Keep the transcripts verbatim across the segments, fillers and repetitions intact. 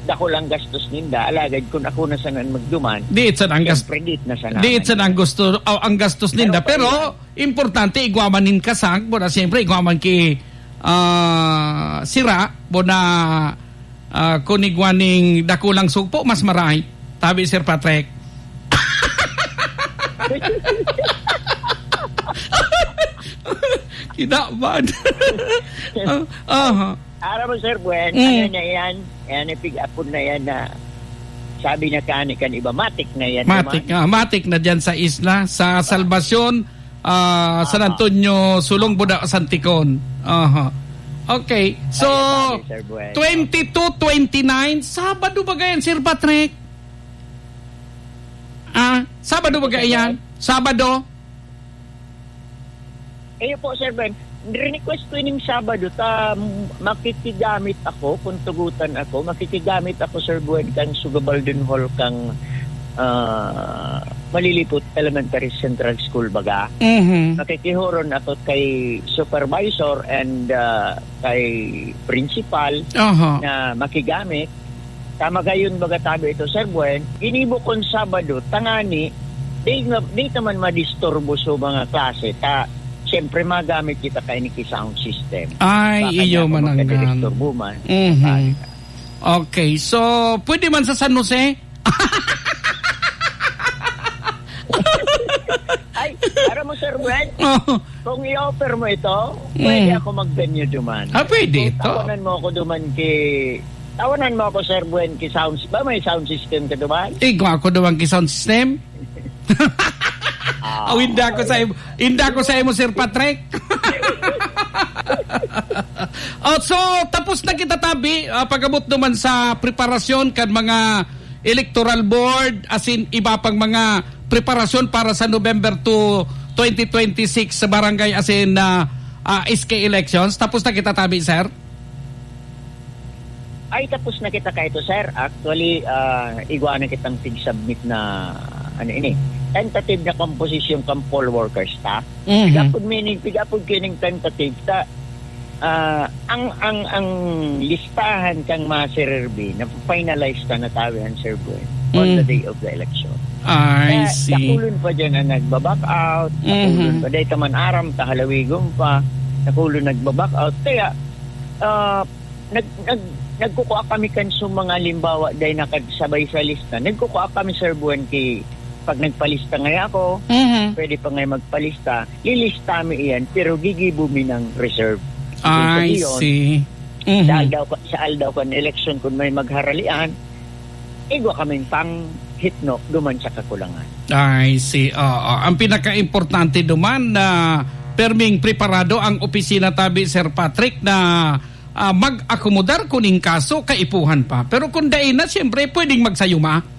Dakul ang gastos ninda, alagad kun ako na sana an magduman, Di it sad ang gas-, siyempre, di it na sana di it sad ang gusto, o, ang gastos ninda. Pero Pero, pa iyan. importante, igwa man nin kasang, pero siyempre, igwa man ki, ah, sira, bo na, ah, kun igwa nin dakulang sugpo, mas maray. Tabi, Sir Patrick. Kinabahan. Ah, aha. Aram mo, Sir Buen, Mm. ano na yan? Yan, ipig-apod na yan na sabi na kani kan iba, matik na yan Matik, naman. ah, matik na dyan sa isla, sa Salvacion, ah, San Aha. Antonio, Sulong, Buda, Santicon. Aha. Okay. So, Ayan, sabi, Sir Buen. twenty-two, twenty-nine, Sabado ba gayan, Sir Patrick? Ah, Sabado ba Sir gayan? Buen? Sabado? Iyo po, Sir Ben. Request ko ining Sabado ta makikigamit ako, kung tugutan ako, makikigamit ako, Sir Buen, kan Sugabaldon Hall kang, ah, Malilipot Elementary Central School baga. Mhm. Makikihoron ako kay supervisor and, ah, kay principal Aha. na makigamit. Tama gayon, baga tabi ito, Sir Buen, ginibo kon Sabado, tangani, di nga, di ta man madisturbo sa mga klase, ta, siyempre, magamit kita kaini ki sound system. Ay, Baka iyo niya ako mananggan. magkadisturbo man. Mhm. Ay. Okay, so, pwede man sa San Jose? Ay, aram mo, Sir Buen, Oh. kung i-offer mo ito, pwede Mm. ako mag-venue duman. Ah, pwede Kung ito. tawanan mo ako duman ki, tawanan mo ako, Sir Buen, ki sounds, ba may sound system ka duman? Igwa ako duman ki sound system? Ah, Aw, hindi ako sa okay. im-, hindi ako sa imo, Sir Patrick. Oh, so, tapos na kita, tabi, ah, pag-abot naman sa preparasyon kan mga electoral board, as in, iba pang mga preparasyon para sa November two, twenty twenty-six sa barangay, as in, ah, ah, S K elections. Tapos na kita, tabi, sir? Ay, tapos na kita kaito, sir. Actually, ah, igwa na kitang pig-submit na, ano ini, tentative na composition kan poll worker staff. Mhm. Pigapod meaning, pigapod kining tentative ta, ah, ang, ang, ang listahan kang mga sirerbi na finalize ta na tawi an Sir Buen on the Mm. day of the election. I Kaya see. dakulon pa dyan ang nagba-back out, dakulon Mhm. pa, dahil ka man aram, kahalawigon pa, dakulon nagba-back out. Kaya, ah, nag-, nag-, nagkukua kami kan sa mga halimbawa, dahil nakasabay sa lista. Nagkukua kami, Sir Buen, ki, pag nagpalista ngaya ako, Mhm. pwede pa ngaya magpalista, lilista mi iyan, pero gigibo mi ng reserve. Ibig I sabihin, see. Mhm. sa aldaw ka, sa aldaw kan eleksyon, kung may magharalian, igwa kaming panghitno duman sa kakulangan. I see. Oo. Ang pinaka-importante duman na perming preparado ang opisina tabi, Sir Patrick, na, ah, mag-akomodar kun in kaso kaipuhan pa. Pero kung dai na, siyempre, pwedeng magsayuma.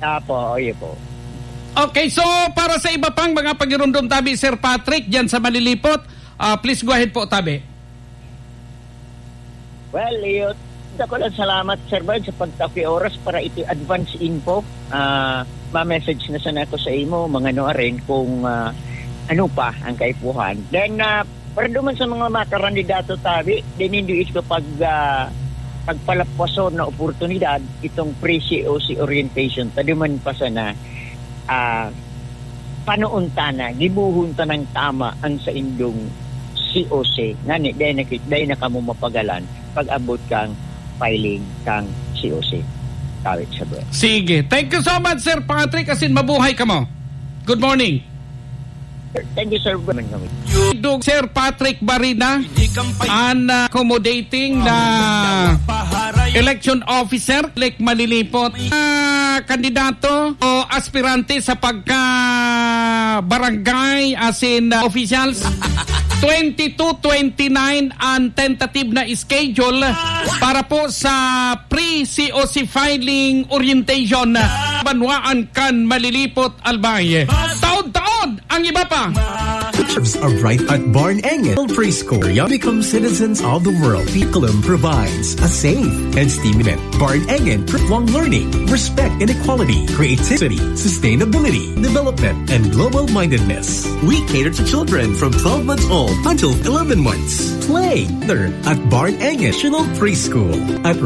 Apo, oye po. Okay, so para sa iba pang mga pagirumdom tabi, Sir Patrick, diyan sa Malilipot, ah, please go ahead po, tabi. Well, iyo, dakulang salamat, Sir Bern, sa pagtao ki oras para iti advance info. Ah, ma-message na sana ako sa imo, mga nuarin, kung, ah, ano pa ang kaipuhan. Then, ah, para duman sa mga makarandidato tabi, then hindi ito pag, ah, pagpalapwason na oportunidad, itong pre-C O C orientation, ta duman pa sana, ah, panoon ta na, gibohon ta ng tama ang saindong C O C. Ngani, dai na ki-, dai na kamo mapagalan pag-abot kang filing kang C O C. Kawit sa buwan. Sige. Thank you so much, Sir Patrick. As in, mabuhay kamo. Good morning. Thank you, Sir. Dug Sir Patrick Barina, an, ah, accommodating na election officer, Lake Malilipot. Ah, kandidato o aspirante sa pagka barangay, as in, ah, officials. Twenty-two, twenty-nine ang tentative na schedule para po sa pre-C O C filing orientation. Banwaan kan Malilipot, Albay. Taon-taon ang iba pa. Futures are bright at Barn Engen Preschool. Young become citizens of the world. Curriculum provides a safe and stimulating Barn Engen Pre-, long learning, respect and equality, creativity, sustainability, development, and global mindedness. We cater to children from twelve months old until eleven months. Play there at Barn Engen National Preschool at